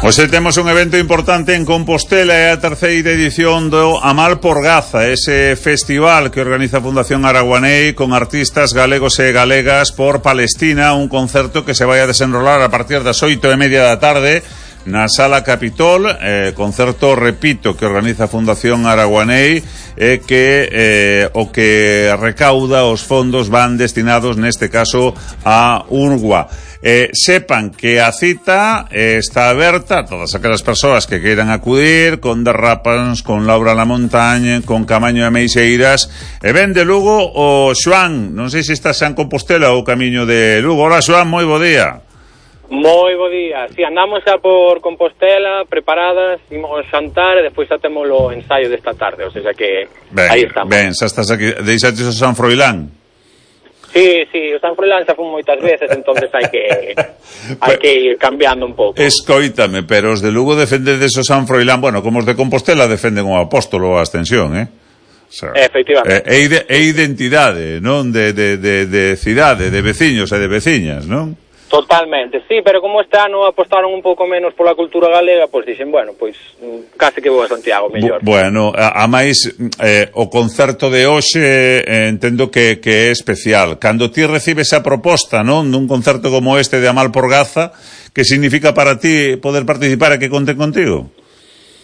Hoxe temos un evento importante en Compostela, é a terceira edición do Amal por Gaza, ese festival que organiza a Fundación Araguaney con artistas galegos e galegas por Palestina, un concerto que se vai a desenrolar a partir das 8:30 da tarde na Sala Capitol, concerto, repito, que organiza a Fundación Araguaney, que o que recauda os fondos van destinados neste caso a UNRWA. Sepan que a cita está aberta a todas aquelas persoas que queiran acudir, con Derrapans, con Laura La Montaña, con Camaño de Meixeiras, e ven de Lugo o Xoán, non sei se estás en Compostela ou camiño de Lugo. Hola Xoán, moi bo día. Moi bo día, si, andamos xa por Compostela, preparadas, imos xantar e despois xa temos o ensaio desta tarde, o sea que ben, aí estamos. Ben, xa estás aquí, deixaches o San Froilán? Sí, o San Froilán xa fun moitas veces, entonces hai que ir cambiando un pouco. Escoítame, pero os de Lugo defendedes o San Froilán, bueno, como os de Compostela defenden o Apóstolo a Ascensión, O sea, efectivamente. É identidade, non? De cidade, de veciños e de veciñas, non? Totalmente, sí, pero como este ano apostaron un pouco menos pola cultura galega, pois dixen, bueno, pois case que vou a Santiago mellor. Bueno, a máis o concerto de hoxe entendo que é especial. Cando ti recibes a proposta, non, dun concerto como este de Amal por Gaza, que significa para ti poder participar e que conten contigo?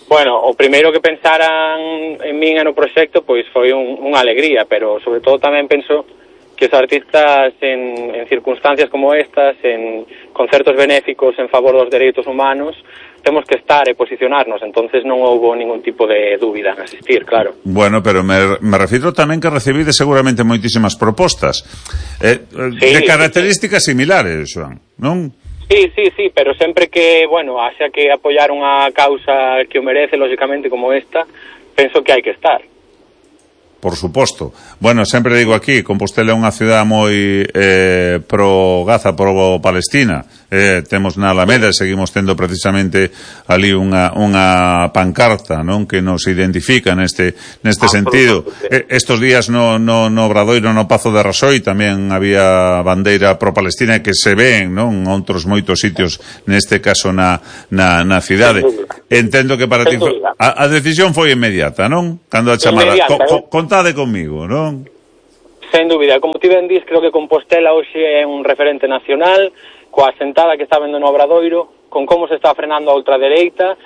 Bueno, o primeiro que pensaran en min e no proxecto pois foi unha alegría, pero sobre todo tamén penso que os artistas en circunstancias como estas, en concertos benéficos en favor dos dereitos humanos, temos que estar e posicionarnos, entonces non houbo ningún tipo de dúbida en asistir, claro. Bueno, pero me refiro tamén que recibide seguramente moitísimas propostas de características similares, Joan, non? Sí, pero sempre que, bueno, haxa que apoiar unha causa que o merece, lógicamente, como esta, penso que hai que estar. Por suposto. Bueno, sempre digo aquí, Compostela é unha cidade moi pro Gaza, pro Palestina. Temos na Alameda, seguimos tendo precisamente ali unha pancarta, non, que nos identifica neste sentido. Estos días no Obradoiro, no Pazo de Rasoi, tamén había bandeira pro Palestina que se ven, non, outros moitos sitios, neste caso na cidade. Entendo que para ti a decisión foi inmediata, non? Cando a chamada contade comigo, non? Sen dúbida, como ti ben dis, creo que Compostela hoxe é un referente nacional, coa sentada que está vendo no Obradoiro, con como se está frenando a ultradereita,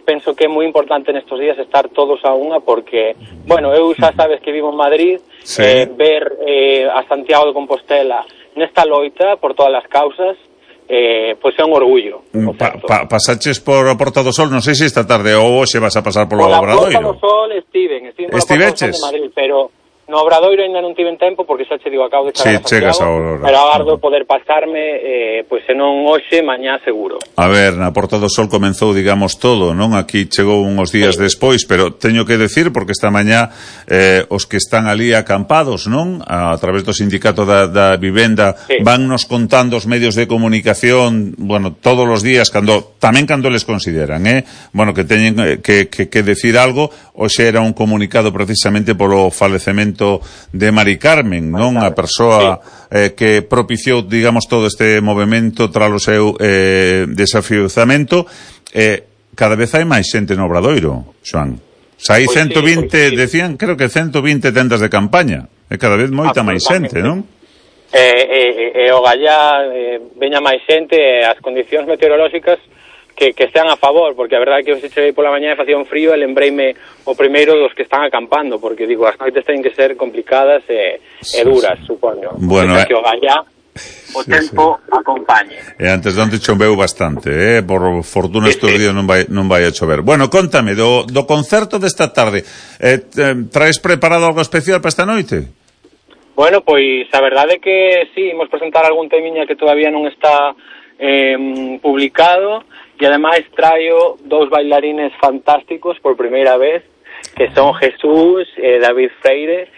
penso que é moi importante nestes días estar todos a unha, porque, bueno, eu xa sabes que vivo en Madrid, sí. Ver a Santiago de Compostela nesta loita por todas as causas, pois é un orgullo. Pasaches por a Porta do Sol, non sei se esta tarde ou hoxe vas a pasar polo Obradoiro. Por a Porta do Sol estiven pola Porta do Sol de Madrid, pero no Obradoiro ainda non tiven tempo porque xa che digo, acabo de chegar a Santiago, pero agardo poder pasarme, pois se non hoxe, mañá seguro. A ver, na Porta do Sol comenzou, digamos, todo, non? Aquí chegou uns días despois, pero teño que decir, porque esta mañá os que están ali acampados, non? A través do sindicato da vivenda, van nos contando os medios de comunicación, bueno, todos os días, tamén cando les consideran, bueno, que teñen que decir algo. Hoxe era un comunicado precisamente polo falecemento de Mari Carmen, non? A persoa que propiciou, digamos, todo este movimento tras o seu desafiuzamento. Cada vez hai máis xente no Obradoiro, Xoán. Hai 120, decían, creo que 120 tendas de campaña. É cada vez moita máis xente, non? O gallá veña máis xente, as condicións meteorolóxicas que estean a favor, porque a verdade é que hoxe cheguei pola mañá e facía un frío e lembreime o primeiro dos que están acampando, porque digo, as noites teñen que ser complicadas e duras, supoño. Bueno, que o gallá o tempo acompañe. E antes de onde choveu bastante, por fortuna estes días non vai a chover. Bueno, contame, do concerto desta tarde, traes preparado algo especial para esta noite? Bueno, pois a verdade é que sí, imos presentar algún temiña que todavía non está publicado, e ademais traio dous bailarines fantásticos por primeira vez, que son Jesús e David Freire.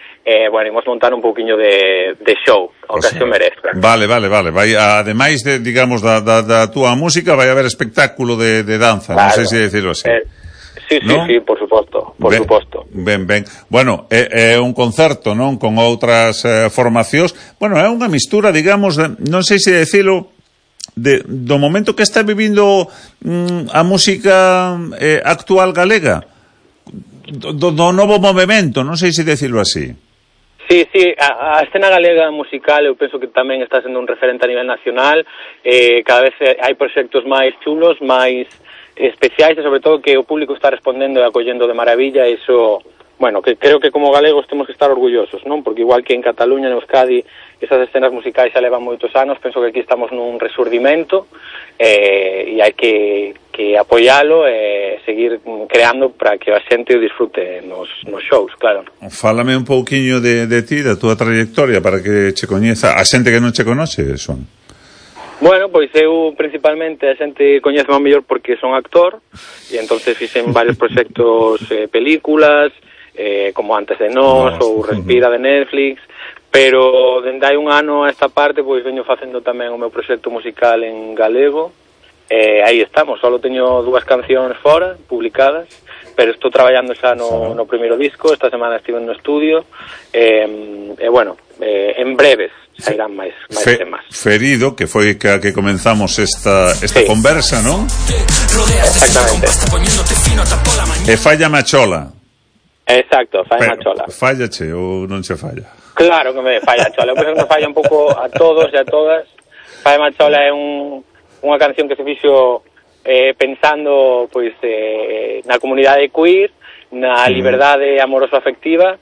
Bueno, imos montar un pouquiño de show, ao que se merece. Vale. Vai, ademais de, digamos, da túa música, vai haber espectáculo de danza, claro. Non sei se decirlo así. Sí, por suposto, Ben. Bueno, é un concerto, non? Con outras formacións. Bueno, é unha mistura, digamos, non sei se decirlo, do momento que está vivindo a música actual galega, do novo movimento, non sei se decirlo así. Sí, a escena galega musical eu penso que tamén está sendo un referente a nivel nacional. Cada vez hai proxectos máis chulos, máis especiais, e sobre todo que o público está respondendo e acollendo de maravilla. Iso, bueno, que creo que como galegos temos que estar orgullosos, non? Porque igual que en Cataluña, en Euskadi, esas escenas musicais xa levan moitos anos, penso que aquí estamos nun resurdimento, e hai que apoialo e seguir creando para que a xente o disfrute nos shows, claro. Fálame un pouquiño de ti, da túa trayectoria, para que che coñeza a xente que non che conoce, son. Bueno, pois eu principalmente a xente coñece máis mellor porque son actor, e entonces fixen varios proxectos, películas, como Antes de Nós ou Respira de Netflix, pero dende hai un ano a esta parte pois veño facendo tamén o meu proxecto musical en galego. Aí estamos, só teño 2 cancións fora, publicadas, pero estou traballando xa no primeiro disco. Esta semana estive no estudio, bueno, en breves sairán máis temas. Ferido, que foi que comenzamos esta conversa, non? Exactamente. E Falla Machola. Exacto, Falla Machola. Fallache ou non che falla? Claro que me falla Chola. Eu penso que me falla un pouco a todos e a todas. Falla Machola é unha canción que se fixo pensando pois na comunidade queer, na liberdade amoroso-afectiva,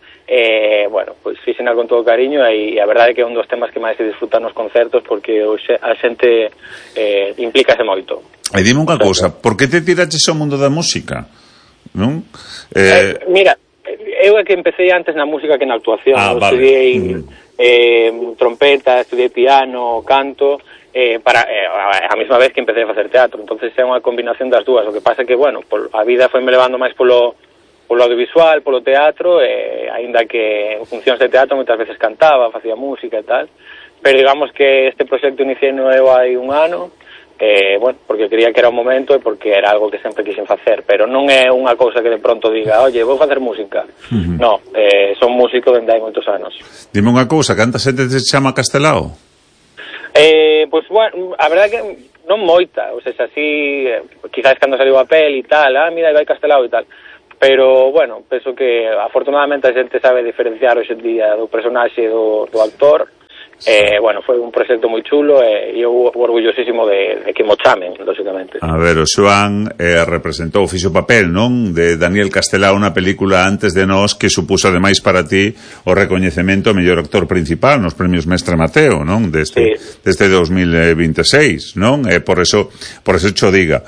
bueno, pois fixena con todo cariño, e a verdade é que é un dos temas que máis se disfrutan nos concertos, porque a xente implícase moito. E dime unha cousa, por que te tiraches ao mundo da música? Non? Mira, eu é que empecé antes na música que na actuación. Estudiei trompeta, estudiei piano, canto, a mesma vez que empecé a facer teatro. Entonces é unha combinación das dúas. O que pasa é que, bueno, a vida foi me levando máis polo audiovisual, polo teatro, aínda que en funcións de teatro moitas veces cantaba, facía música e tal, pero digamos que este proxecto iniciei eu hai un ano, bueno, porque creía que era o momento e porque era algo que sempre quixen facer, pero non é unha cousa que de pronto diga, oye, vou facer música. No, son músico dende hai moitos anos. Dime unha cousa, canta xente te chama Castelao? Pois, bueno, a verdade que non moita, ou sea, así, quizás cando saliu a pel e tal, mira, vai Castelao e tal, pero, bueno, penso que afortunadamente a xente sabe diferenciar hoxe en día do personaxe do actor. Bueno, foi un proxecto moi chulo e eu orgullosísimo de que mo chamen, lógicamente. A ver, o Xoán representou, fixo papel, non? De Daniel Castelao, unha película Antes de Nós, que supuso ademais para ti o recoñecemento ao mellor actor principal nos premios Mestre Mateo, non? Deste 2026, non? Por eso cho diga,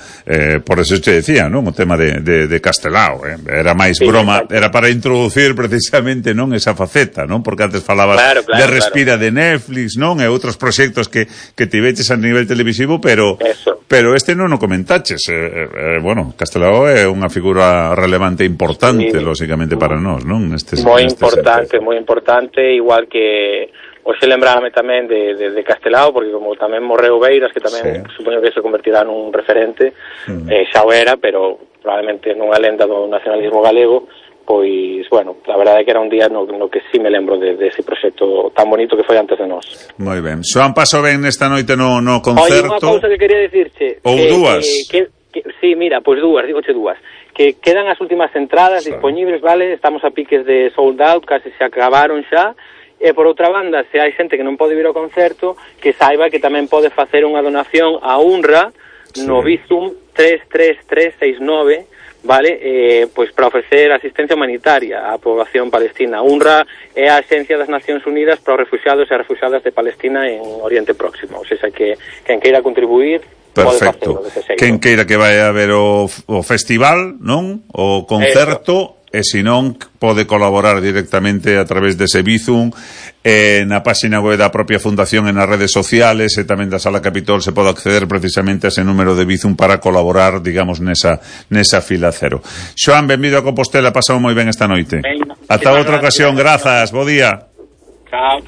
por eso che decía, non? O tema de Castelao, era máis broma, era para introducir precisamente, non? Esa faceta, non? Porque antes falabas de Respira de Netflix, non? E outros proxectos que tiveches a nivel televisivo, pero este non o comentaches. Bueno, Castelao é unha figura relevante e importante, lógicamente, para nós, non? Moi importante, igual que hoxe lembrame tamén de Castelao, porque como tamén morreu Beiras, que tamén supoño que se convertirá nun referente, xa o era, pero probablemente nunha lenda do nacionalismo galego. Pois, bueno, a verdade é que era un día no que sí me lembro de ese proxecto tan bonito que foi Antes de Nós. Moi ben. Xoán, paso ben nesta noite no concerto. Oye, unha cousa que quería dicirche. Ou dúas. Sí, mira, pois dígoche dúas. Que quedan as últimas entradas dispoñibles, vale? Estamos a piques de sold out, case se acabaron xa. E por outra banda, se hai xente que non pode vir ao concerto, que saiba que tamén pode facer unha donación a UNRWA no Bizum 33369, vale, pois para ofrecer asistencia humanitaria á poboación palestina. UNRWA é a Axencia das Nacións Unidas para os refuxiados e refuxiadas de Palestina en Oriente Próximo. O sea, que quen queira contribuir pode facelo dese xeito. Quen queira que vai a ver o festival, non? O concerto, e se non pode colaborar directamente a través dese Bizum, na páxina web da propia fundación e nas redes sociales, e tamén da Sala Capitol se pode acceder precisamente a ese número de Bizum para colaborar, digamos, nesa fila cero. Xoán, benvido a Compostela, pasamos moi ben esta noite. Ata outra ocasión, grazas, bo día. Chao.